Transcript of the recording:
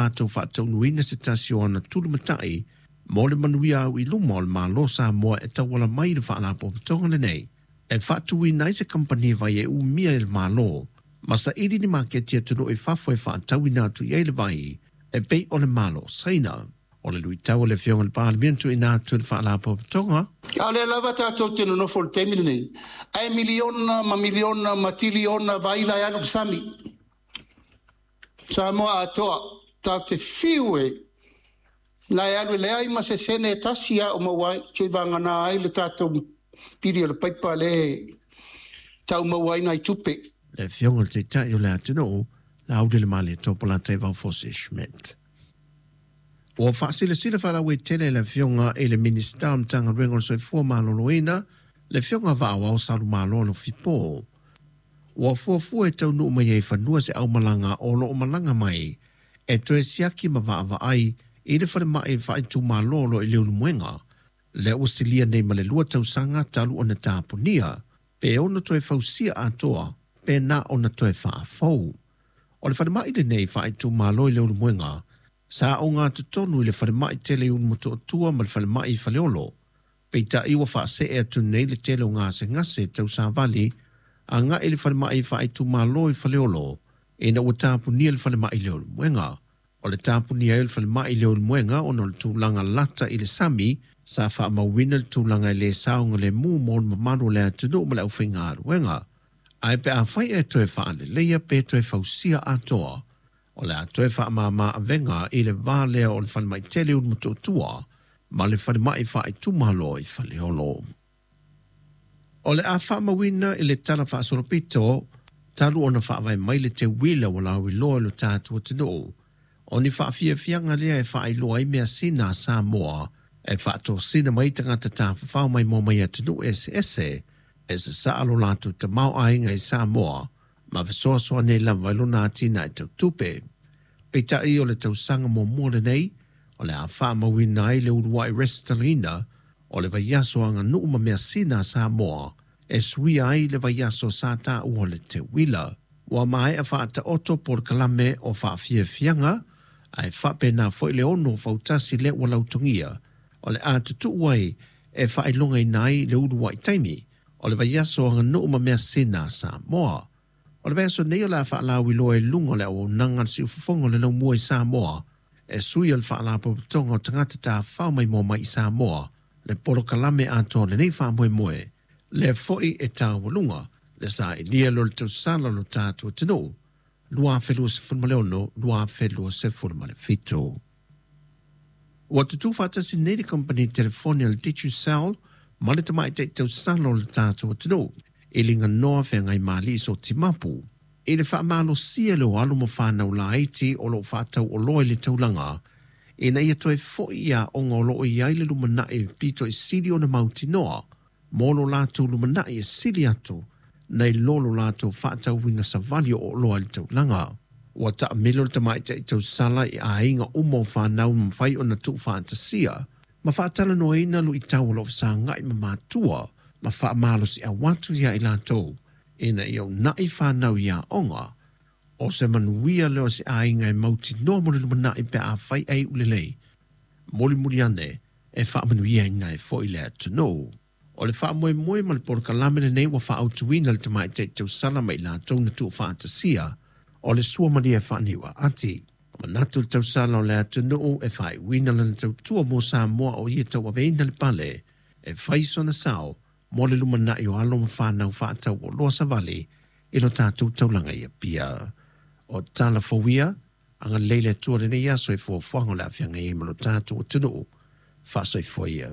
latou faataunuuina se tasi o ana tulimatai mo le manuia au i luma o le Malo o Samoa e tauala mai i le Faalapotopotoga lenei e faatuina ai se kamupani vai e umia e le Malo ma saili ni maketi atunuu i fafo e faatauina atu i ai le vai e pei o le Malo o Saina. O le luitau a le Afioga i le Palemia na tuuina atu e le Faalapotopotoga. A o lea lava tatou te nonofo i le taimi lenei, ae miliona ma miliona ma tiliona vaila e alu i le sami. Samoa atoa, tatou te fiu e na e alu e leai ma se sene e tasi a o maua ai, se i vagana ai le tatou pili o le paipa lea e tau maua ai nai tupe. Le Afioga i le Taitai o le atunuu, Laaulialemalietoa Polataivao Fosi Schmidt. Ua faasilasila faalauaitele e le Afioga i le Minisita o le Matagaluega o le Soifua Maloloina, le Afioga Vaaoao Salumalo Alofipo, Ua fuafua e taunuu mai ai i fanua se aumalaga o lo o malaga mai e toe siaki ma vaavaai i le falemai faaitumalo o lo o i Leulumoega, lea ua silia nei ma le 2 tausaga talu ona tapunia, pe ono toe fausia atoa pe na ona toe faafou. O le falemai lenei faaitumalo i Leulumoega, sa ogatotonu i le falemai tele i Ulumotootua ma le falemai i Faleolo, Peitai ua faasee atu nei le tele o gasegase tau savali agai i le falemai faaitumalo i Faleolo ina ua tapunia le falemai i Leulumoega. O le tapunia ai o le falemai i Leulumoega ona o le tulaga lata i le sami, sa faamauina le tulaga e le saogalemu mo le mamalu o le atunuu ma le aufaigaluega. Ae pe afai e toe faaleleia pe toe fausia atoa, o le a toe faamama avega i le va lea o le falemai tele i Ulumotootua ma le falemai faaitumalo i Faleolo. O le a faamauina i le Tala Faasolopito talu ona faavae mai le teuila ua lauiloa i lo tatou atunuu, o ni faafiafiaga lea e faailoa ai measina a Samoa e faatosina mai tagata tafafao maimoa mai atunuu eseese e sasaa lo latou tamaoaiga i Samoa ma fesoasoani ai lava i lona atinae tau tupe. Peitai o le tausaga muamua lenei o le a faamauina ai le uluai resitalaina o le vaiaso aganuu ma measina a Samoa e suia ai le vaiaso sa taua o le teuila. Ua maea faataoto polokalame o faafiafiaga ae faapena foi le ono fautasi lea ua lautogia o le a tutuu ai e faailogaina ai le uluai taimi o le vaiaso aganuu ma measina a Samoa. O le vaiaso nei o le a faalauiloa i luga o le auaunaga a le Siufofoga o le Laumua i Samoa e sui o le Faalapotopotoga o Tagata Tafafao Maimoa Mai i Samoa le polokalame atoa o lenei faamoemoe, lea foi e taualuga le sailia lea o le tausala o lo tatou atunuu 2026, 2027. Ua tutū faatasi nei le kamupani telefoni a le Digicel ma le tamaitai tausala o le tatou atunuu i Liganoa Feagaimalii Sotimapu i le faamalosia lea o alo ma fanau laiti o lo o faatauoloa i le taulaga ina ia toe foi i aoga o lo o i ai le lumanai pito i sili ona mautinoa mo lo latou lumanai e sili atu nai lo lo latou faatauina savali o oloa i le taulaga. Ua taamilo le tamaitai tausala i aiga uma o fanau na mafai ona tuufaatasia ma faatalanoaina luitau o lo o fesagai ma matua ma faamalosiau atu iā i latou ina ia uunai fanau i aoga. O se manuia lea o se aiga e mautinoa mo le lumanai pe afai ae iu lelei. Mulimuli ane e faamanuiaina ai foi le atunuu. O le faamoemoe ma le polokalame lenei ua faaautuina le tamaitai tausala ma i latou na tuufaatasia o le suamalie faaniuaati. Manatu le tausala o le atunuu e faaiuina lana tautua mo Samoa o ia tauaveina le pale e fai sona sao mo le lumanai o alo ma fanau faatauoloa savali i lo tatou taulaga i Apia. O tala fou ia, agalelei le Atua i lenei aso i fuafuaga o le a feagai ai ma lo tatou atunuu. Faasoifua ia.